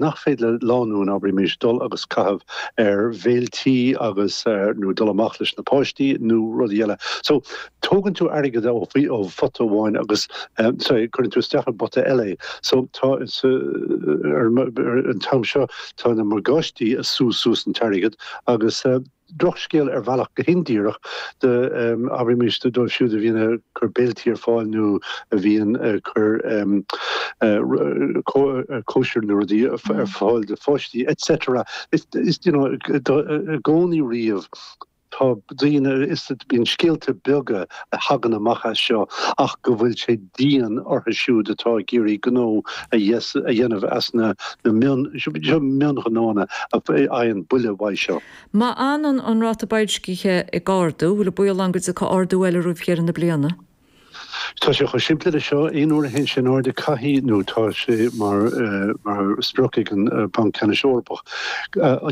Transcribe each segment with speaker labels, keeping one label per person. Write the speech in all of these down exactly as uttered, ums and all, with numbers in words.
Speaker 1: nach féidir le lánúin, abraimis, dul agus caitheamh ar bhéiltí agus nó dul amach leis na páistí nó rudaí eile. So tógann tú airgead ó ó phota amháin agus sorry cuireann tú isteach i bpota eile. So tá ar an t-am seo tá na morgáistí ag sú suas an t-airgead agus drochscéal ar bhealach go hindíreach do abraimis dóibh siúd a bhíonn ag cur béiltí ar fáil nó a bhíonn ag cur cóisir nó rudaí ar fáil do pháistí et cetera. Is you know i gcónaí riamh tá daoine is bíonn scéalta beaga a thagann amach as seo ach go bhfuil sé dian orthu siúd atá ag iarraidh gnó a dhéanamh as na na mionghnónna a fhaigheann buille uaidh seo.
Speaker 2: Má fhanann an ráta boilscithe ag ardú, bhfuil baol ann go dtiocfaidh ardú eile roimh dheireadh na bliana?
Speaker 1: Tá sé chomh simplí le seo. Aon uair a théann sé in airde caithfidh, nó tá sé mar mar sprioc ag an Banc Ceannais Eorpach,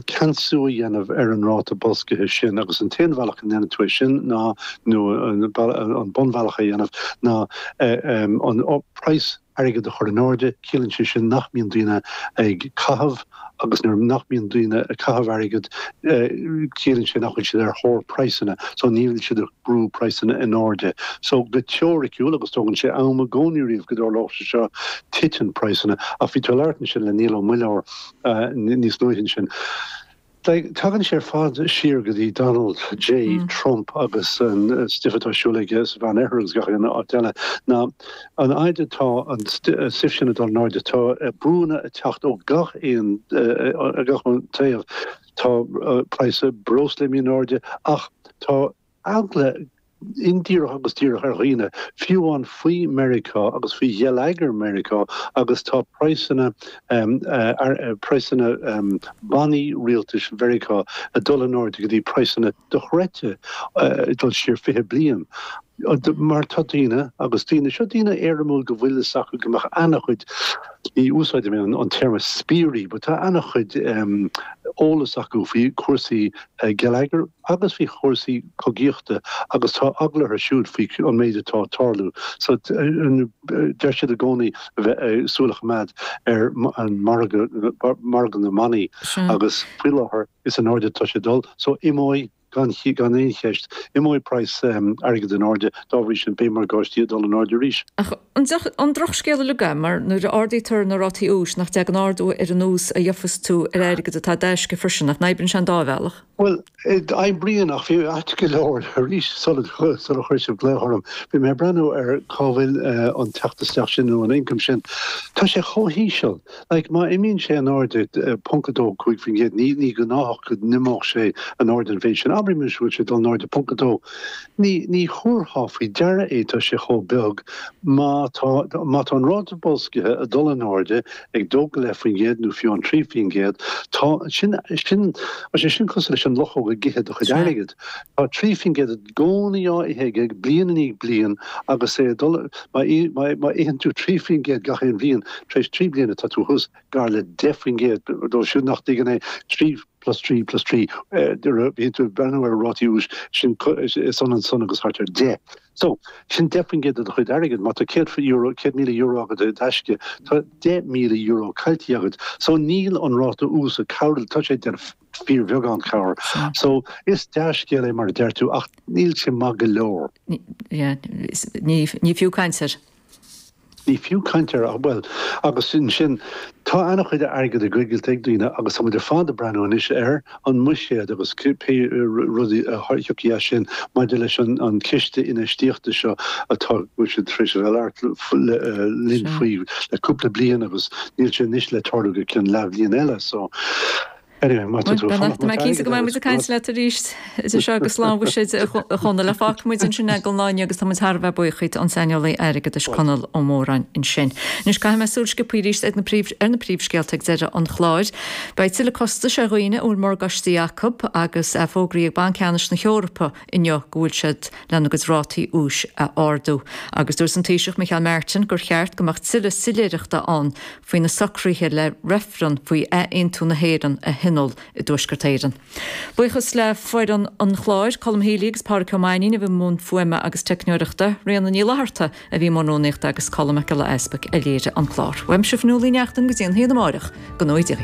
Speaker 1: ceansú a dhéanamh ar an ráta boilscithe sin agus an t-aon bhealach a ndéanann tú é sin ná, nó an bunbhealach a dhéanamh ná an praghas airgid a chur in airde. Ciallaíonn sé sin nach mbíonn daoine ag caitheamh agus nuair nach mbíonn daoine ag caitheamh airgid ciallaíonn sé nach bhfuil siad ar thóir praghsanna, so ní bhfuil siad ag brú praghsanna in airde. So go teoiriciúil, agus tógann sé am i gcónaí riamh go dtarlódh sé seo, titeann praghsanna. Ach bhí tú ag labhairt ansin le Niall Ó Muilleoir níos luaithe ansin. Tagann sé ar fad siar go dtí Donald J. Trump agus an stuif atá ar siúl aige sa Mheán Oirthear agus gach aon áit eile. Ná an fhaid atá an stuif sin ag dul in airde, tá brúnna ag teacht ó gach aon gach aon taobh. Tá praghas breosla imithe in airde ach tá eagla indíreach agus díreach ar dhaoine, fiú amháin faoi Meiriceá agus faoi gheilleagar Meiriceá agus tá praghsanna praghsanna bannaí rialtais Mheiriceá ag dul in airde go dtí praghsanna dochreidte ag dul siar fiche bliain. Mar tá daoine agus daoine, seo daoine éirimiúil go bhfuil fhios acu go mbeadh an-chuid, ní úsáidim an téarma spiairí, but tá an-chuid eolas acu faoi chúrsaí geilleagair agus faoi chúrsaí cogaíochta agus tá eagla orthu siúd faoi an méid atá ag tarlú. So deir siad i gcónaí a bheith súil a choimeád ar an margadh, margadh na mbannaí agus faoi láthair is in airde atá sé ag dul. So imeoidh gan gan aon cheist, imeoidh praghas airgid in airde, dá bhrí sin beidh morgáistí ag dul in airde arís.
Speaker 2: Ach an drochscéal uilig é, mar nuair a ardaítear na rátaí úis, nach dtagann ardú ar an ús a gheofas tú ar airgead atá i dtaisce freisin, nach n-oibríonn sé an dá bhealach?
Speaker 1: Bhuel, oibríonn ach bhí ait go leor arís sula sula chuir sibh glaoch orm. Bhí mé ag breathnú ar cá bhfuil an teacht isteach sin nó an income sin. Tá sé chomh híseal. Like má imíonn sé in airde ponc a dó cúig faoin gcéad, ní ní gnáthach go n-imeodh sé in airde an mhéid sin. Abraimis go bhfuil sé dul in airde ponc a dó. Ní ní thabharfá faoi deara é, tá sé chomh beag. Má tá má tá an ráta boilscithe ag dul in airde ag dó go leith faoin gcéad nó fiú an trí faoin gcéad, tá sin sin sé sin cosúil leis an luchóg ag ithe do chuid airgid. Tá trí faoin gcéad i gcónaí á ithe aige bliain i ndiaidh bliain agus é ag dul má má itheann tú trí faoin gcéad gach aon bhliain, tar éis trí bliana tá tú thuas gar le deich faoin gcéad. Dóibh siúd nach dtuigeann é, trí plus trí plus trí, bhíonn tú ag breathnú ar rátaí úis, sin is ionann san agus thart ar deich. So, sin deich faoin gcéad de do chuid airgid. Má tá céad euro, céad míle euro agat i dtaisce, tá deich míle euro caillte agat. So níl an ráta ús ag cabhrú, tá sé ag déanamh fíorbheagán cabhair. So is dea-scéal é mar a deir tú ach níl sé maith go leor.
Speaker 2: Ní fiú caint air.
Speaker 1: Ní fiú caint air ach bhuel agus sin tá an-chuid airgead á gcoigilt ag daoine agus tá muid ar fad ag breathnú anois ar an mbuiséad agus pé rudaí a thiocfaidh as sin maidir leis an an ciste infheistíochta seo atá bhfuil siad tar éis a bheith ag labhairt linn faoi le cúpla bliain agus níl sé anois le tarlú go ceann leathbhliain eile so anyway má tá tú ag fanacht
Speaker 2: Tá mé cinnte go mbeidh muid ag caint leat arís idir seo agus lá an bhuiséid a Chonaill. Fágfaidh muid ansin é don lá inniu agus tá muid thar a bheith buíoch díot an saineolaí airgeadais Conall Ó Móráin ansin. Anois caithfidh mé súil sciobtha arís ar na príomh ar na príomhscéalta ag deireadh an chláir. Beidh tuilleadh costais ar dhaoine a bhfuil morgáistí acu agus é fógraithe ag Banc Ceannais na hEorpa inniu go bhfuil siad lena gcuid rátaí úis a ardú. Agus dúirt an Taoiseach Micheál Martin gur cheart go mbeadh tuilleadh soiléireachta ann faoi na socruithe le reifreann faoi athaontú na hÉireann a Thionól i dTuaisceart Éireann. Buíochas le foireann an chláir, Colm Healy agus Pádraig Ó Mainnín a bhí i mbun fuaime agus teicneoireachta, Ríona Ní Fhlatharta a bhí i mbun rúnaíochta agus Colm Mac Giolla Easpaig a léirigh an clár. Uaimse Fionnuala Ní Neachtain go dtí an haon amárach, go ngnóthaí Dia.